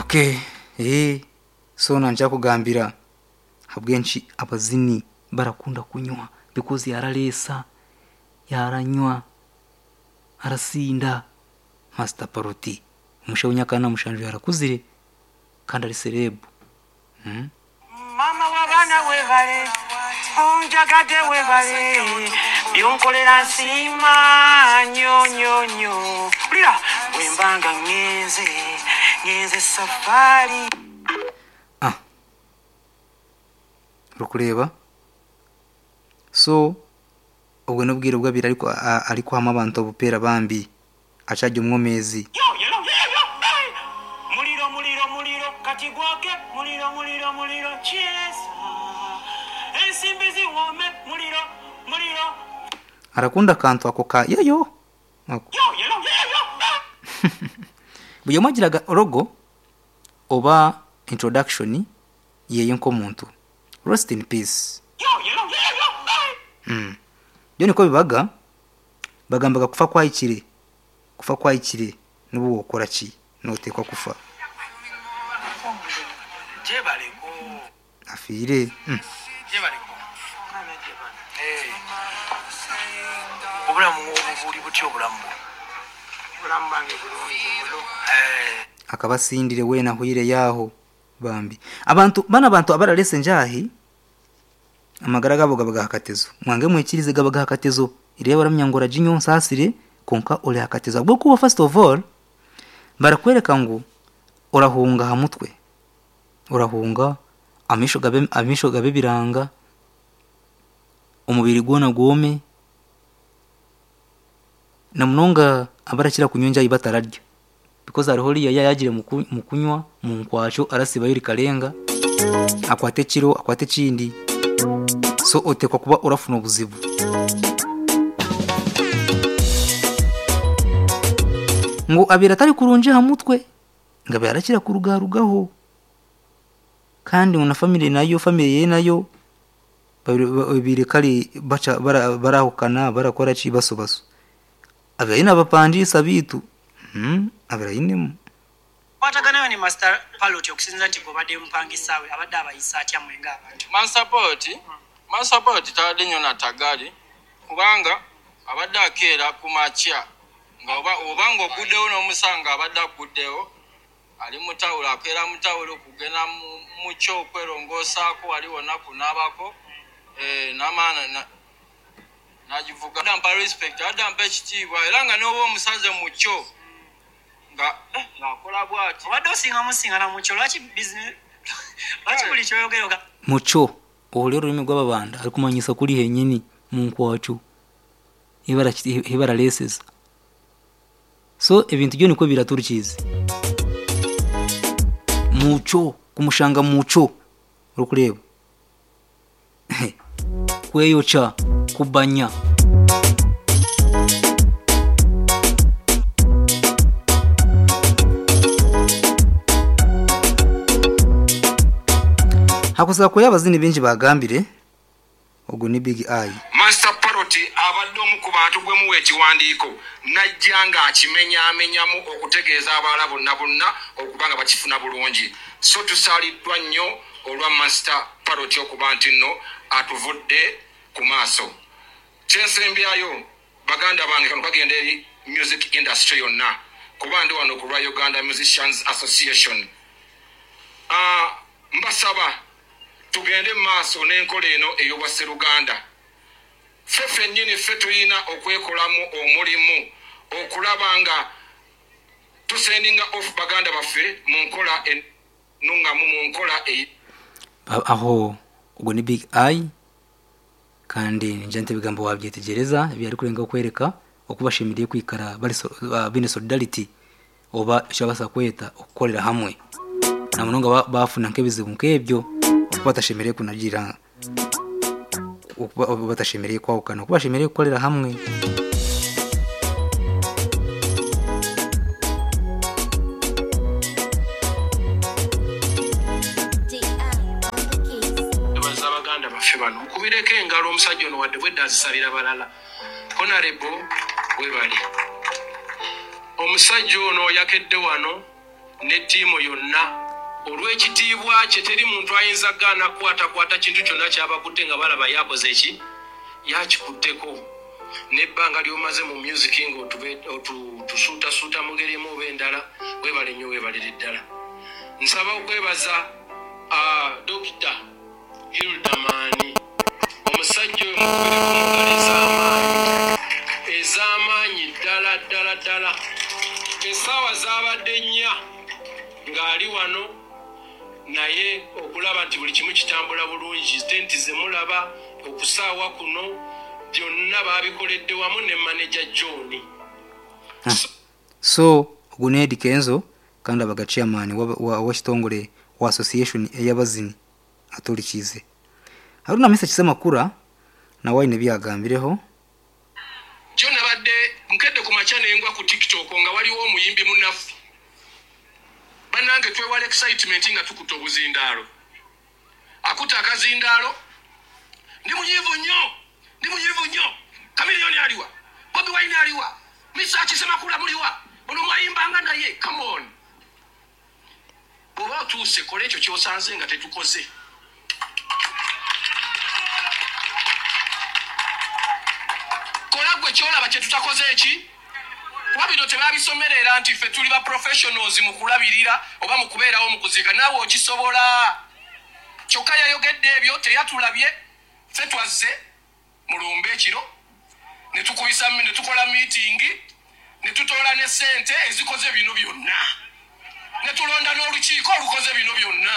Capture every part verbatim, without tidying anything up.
Okay, eh so nankyakugambira habwenki abazini barakunda kunywa, because yaraleesa, yaranywa, arasinda. Master Paroti omushaija w'emyaka ana na mushanju yarakuzire kandi ari celeb mm? Mama w'abaana webale, onjagadde, webale byonkolera, nsiima nnyo nnyo nnyo. Ulira bwembanga ŋŋenze ŋŋenze safaari. Ah, orikureeba, so obwo n'obwire bwabiri ariko a- ari kuhamu abantu obupeera bambi akyarya omwomezi. Yo, yo, yo, yo, hey! Muliro, muliro, muliro, kati gwake muliro, muliro, muliro, kyesa ensimbi ziwome, muliro, muliro. Arakunda akantu ako ka yayo ako. Yo, yo, yo, yo, hey! Buri omwe agiraga logo oba introduction yeye nk'omuntu. Rest in peace. Yo, yo, yo, yo, hey! mm. Byo niko bibaga, bagambaga kufa kwahikire, kufa kwahikire, n'ubu wokora ki, notekwa kufa. Gyebaleko. Afiire mm. Gyebaleko. Obulamu obwo buli butya? Obulamu bwo, obulamu bwange bulungi bulo. Akaba asindire weena ahwire yaho bambi. Abantu bana, abantu abararesa enjahi, amagara gabo gaba gahakatezo. Mwange mwikirize, gaba gahakatezo. Ireba baramya ngo oraginyo nsasire, konka ori hakatezo bwo kuba. First of all, barakwereka ngu orahunga ha mutwe, orahunga amisho gabe, amisho gabe biranga, omubiri gwona gwome, na munonga abarakira kunywa enjahi batararya, because hariho oriya yayagire mu ku- mu kunywa mu nkwakyo, arasibayo rikarenga, akwate ekiro, akwate ekindi, so otekwa kuba orafuna obuzibu ngu abire atari kurungi aha mutwe, ngo abe arakira kurugarugaho, kandi ngo na family nayo, family ye nayo babiri kari baca bara- barahukana, barakora ki, baso baso abe ayine abapangisa bitu mm, abe ayinemu. Kwataganayo ne Master Parrot, okusinza nti gweobadde mupangisa we, abadde abayisa atya mwe ng'abantu? Master Parrot, Master Parrot tabadde nnyo natagali, kubanga abadde akeera ku makya nga oba oba ng'oguddewo n'omusanga, abadde aguddewo ali mu tawulo, akeera mu tawulo kugenda mu- mu kyo okwerongoosaako, wali wonna kunaabako, eh, n'amaana na- n'agivuga. Abadde ampa respect, abadde ampa ekitiibwa, era nga n'oba omusanze mu kyo nga eh, ng'akola bw'ati. Obadde osinga musingana mukyo, lwaki business, lwaki buli kyoyogera oga Muco ohuri orurimi rw'ababanda arikumanyisa kuri henyini mu nkwakyo ibarareseza. So ebintu byo niko biraturukize muco kumushanga muco, orikureba kweyoca, kubanya. Hakuza kuya abazini bingi bagambire ogu ni Big Eye. Master Parrot abadde omu ku bantu gwe muwa ekiwandiiko najja ng'akimenyaamenyamu okutegeeza abalala bonna bonna okuba nga bakifuna bulungi. So tusaaliddwa nnyo olwa Master Parrot okuba nti nno atuvudde ku maaso. Kyensembyayo, baganda bange, kano kagenda eri music industry yonna, kuba ndi wano ku lwa Uganda Musicians Association. Ah, mbasaba tugende mu maaso n'enkola eno ey'obwasseruganda. Ffe ffennyini ffe tulina okwekolamu omulimu okulaba nga tusendinga off baganda baffe mu nkola ennuŋŋamu, mu nkola e Ba- aho ubwo ni Big Eye, kandi ninja nti ebigambo wabyetegereza ebi ari kurenga kwereka okubashemeriye kwikara bari so, uh, bine solidarity oba icyo basa kweta okukorera hamwe, na munonga ba- bafuna nk'ebizibu nk'ebyo, okuba batashemereye kunagira, okuba batashemereye kwahukana, okuba bashemereye kukorera hamwe. Baza baganda baffe bano, mukubireko engalo omusajja ono, wadde bwedde azisabira balala. Honorable, webale. Omusajja ono yakedde wano Ne ttiimu yonna olw'ekitiibwa kye, teri muntu ayinza kugaana kukwatakwata kintu kyonna kyabakutte nga balaba yakoze eki yakikutteko n'ebbanga ly'omaze mu music nga otusuutasuuta mu ngeri emu oba endala. Weebale nnyo, weebalire ddala. Nsaba okwebaza Dokita Hilderman. Omusajja oyo mukubireko mu ngalo ez'amaanyi, ez'amaanyi ddala ddala ddala. Essaawa zaabadde nnya ng'ali wano, naye okulaba nti buli kimu kitambula bulungi, tenti zemulaba, okusaawa kuno, byonna baabikoledde wamu ne maneja John. So ogu ni Eddy Kenzo kandi abaga chairman w'ekitongore wa association ey'abazini aturikiize. Haruna Misa Kisemakura nawe aine ebyagambireho. Jo nabadde nkedde ku makya nengwa ku TikTok nga waliwo omuyimbi munnaffe. Bannange, twewala excitement nga tukutte obuzindaalo. Akutte akazindaalo, "Ndi munyiivu nnyo, ndi munyiivu nnyo. Chameleone aliwa? Bobi Wine aliwa? Mesach Semakula muliwa? Ono mwayimbanga naye." Come on, bw'oba otuuse kola ekyo kyosanze nga tetukoze. Kola gwe kyolaba kye tutakoze eki, kuba bino tebabisomerera nti ffe tuli ba professionals mu kulabirira oba mu kubeerawo mu kuziika. Naawe okisobola. Kyokka yayogedde ebyo teyatulabye. Ffe twazze mulumbe ekiro ne tukubisa ne tukola meeting ne tutoola ne ssente ezikoze bino byonna ne tulonda n'olukiiko olukoze bino byonna.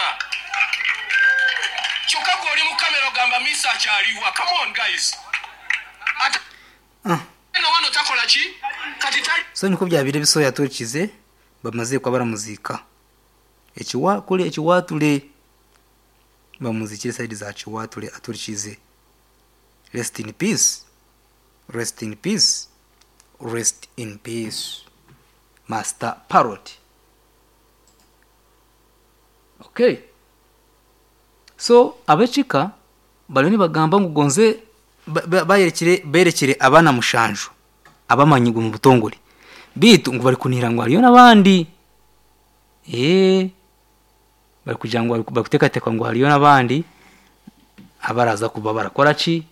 Kyokka gwe oli mu kamera ogamba misa akyaliwa. Come on guys, ate Ah. no wano takola ki kati tali. So niko byabire bisoya aturikize bamaze kuba baramuziika ekiwakule ekiwatule, bamuzikire side za Kiwatule. Aturikize, rest in peace, rest in peace, rest in peace, Master Parrot. Okay, so abekika bariyo nibagamba ngu gonze ba- ba- bayerekire berekire abaana mushanju abamanyigwe mu butongore, bitu ngu bari kunihira ngu hariyo n'abandi ee bari kugira ngu bari kuteekateeka ngu hariyo n'abandi abaraza kuba barakora ki,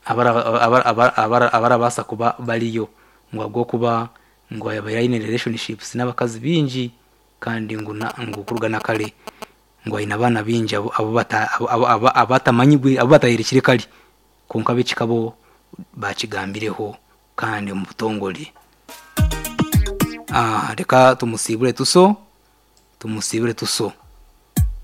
abara- abara- abara- abara- abarabaasa kuba bariyo, ngu ahabw'okuba ngu yabaire aine relationships n'abakazi bingi, kandi ngu na- ngu kuruga na kare ngu aine abaana bingi abo- abo bata- abo- abo- abo- abatamanyigwe, abo batayerekire kare. Konka ab'ekika bo bakigambireho kandi omu butongore. Ah, reka tumusibure tuso, tumusibure tuso.